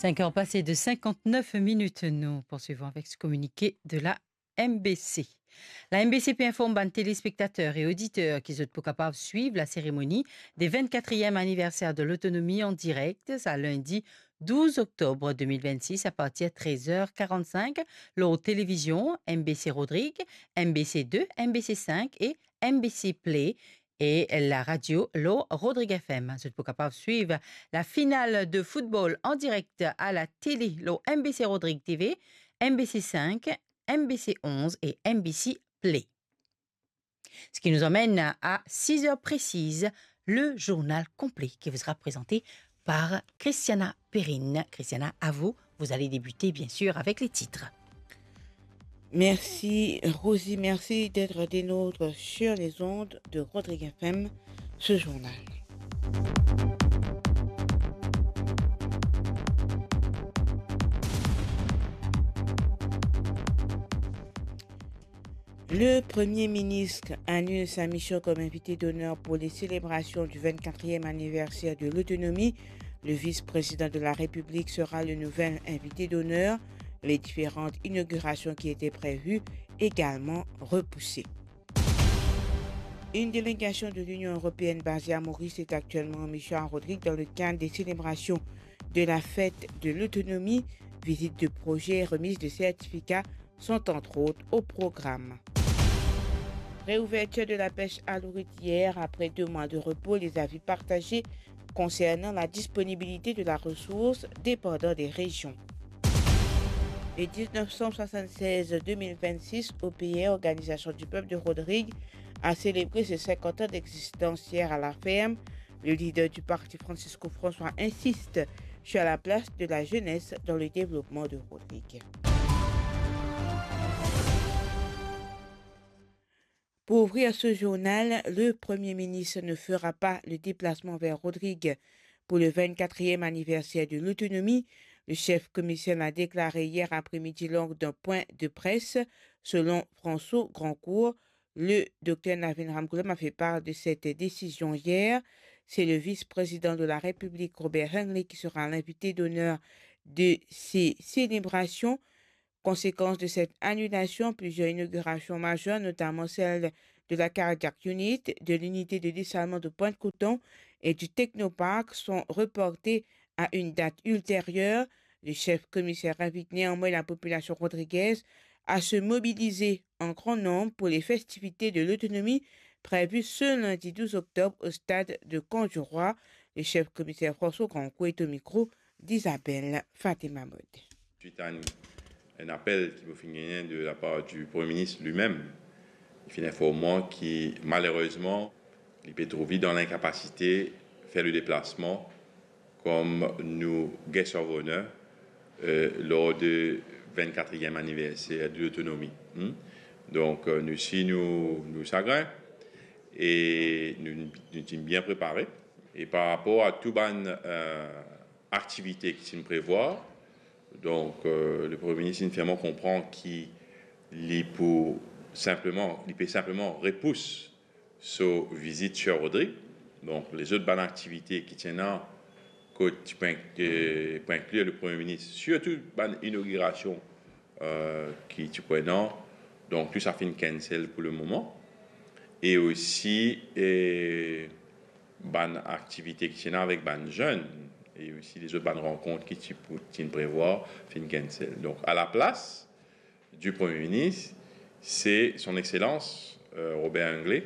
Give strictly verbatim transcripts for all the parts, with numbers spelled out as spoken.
Cinq heures passées de cinquante-neuf minutes, nous poursuivons avec ce communiqué de la M B C. La M B C pe inform bann telespektater e oditer ki zot pou kapav swiv laseremoni de vennkatriem aniverser de lotonomi an direk, sa lindi douz oktob de mil vennsis, a partir trez er karannsink, lor televizion M B C Rodrig, M B C de, M B C sink e M B C Play, e laradio lor Rodrig F M. Zot pou kapav swiv lafinal de foutbol an direk a latele lor M B C Rodrig T V, M B C sink, M B C onz e M B C Play. Ce qui nous emmène à six heures précises, le journal complet qui vous sera présenté par Christiana Perrine. Christiana, à vous. Vous allez débuter, bien sûr, avec les titres. Merci, Rosie. Merci d'être des nôtres sur les ondes de Rodrig F M, ce journal. Le Premier ministre annule sa mission comme invité d'honneur pour les célébrations du vingt-quatrième anniversaire de l'autonomie. Le vice-président de la République sera le nouvel invité d'honneur. Les différentes inaugurations qui étaient prévues également repoussées. Une délégation de l'Union européenne basée à Maurice est actuellement en mission à Rodrigues dans le cadre des célébrations de la fête de l'autonomie. Visite de projets, remise de certificats sont entre autres au programme. Réouverture de la pêche à l'ourit hier. Après deux mois de repos, les avis partagés concernant la disponibilité de la ressource dépendant des régions. Le dix-neuf cent soixante-seize deux mille vingt-six, O P R, Organisation du Peuple de Rodrigues, a célébré ses cinquante ans d'existence hier à la ferme. Le leader du parti, Francisco François, insiste sur la place de la jeunesse dans le développement de Rodrigues. Pour ouvrir ce journal, le Premier ministre ne fera pas le déplacement vers Rodrigues pour le vingt-quatrième anniversaire de l'autonomie. Le chef commissaire l'a déclaré hier après-midi lors d'un point de presse. Selon François Grandcourt, le docteur Navin Ramgoolam a fait part de cette décision hier. C'est le vice-président de la République, Robert Hengli, qui sera l'invité d'honneur de ces célébrations. Conséquence de cette annulation, plusieurs inaugurations majeures, notamment celle de la Cardiac Unit, de l'unité de dessalement de Pointe-Coton et du Technoparc, sont reportées à une date ultérieure. Le chef commissaire invite néanmoins la population rodriguaise à se mobiliser en grand nombre pour les festivités de l'autonomie prévues ce lundi douze octobre au stade de Camp du Roi. Le chef commissaire François Grandcourt est au micro d'Isabelle Fatima Mode. Suite à un, un appel ki mo finn gagne de la part du Premier ministre lui-même, li finn inform mwa ki malerezman, li pe trouv li dan linkapasite fer le deplasman kom nou guest of honor, euh, lor de vingt-quatrième anniversaire de l'autonomie. Hmm? Donk, euh, nou si nou, nou sagrin e nou, nou ti bien prepare. E par rapor a tou bann, euh, aktivite ki ti prevwar. Donk, euh, le Premier ministre inn fer mwa konpran ki li pou sinpleman, li pe sinpleman repous so vizit Sir Rodrigues. Donk, lezot bann aktivite ki ti ena, kot ti pou ink-, euh, pou inklir le Premier ministre, sirtou bann inogirasion, euh, ki ti pou ena. Donk, tou sa finn cancel pou le moman. E osi, euh, bann aktivite ki ti ena avek bann zenn, e osi lezot bann rankont ki ti pou, ti inn prevwar, finn cancel. Donk, a laplas du Premier ministre, se Son Excellence, euh, Robert Hengli,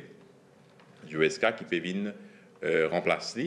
U S K, ki pe vinn, euh, ranplas li.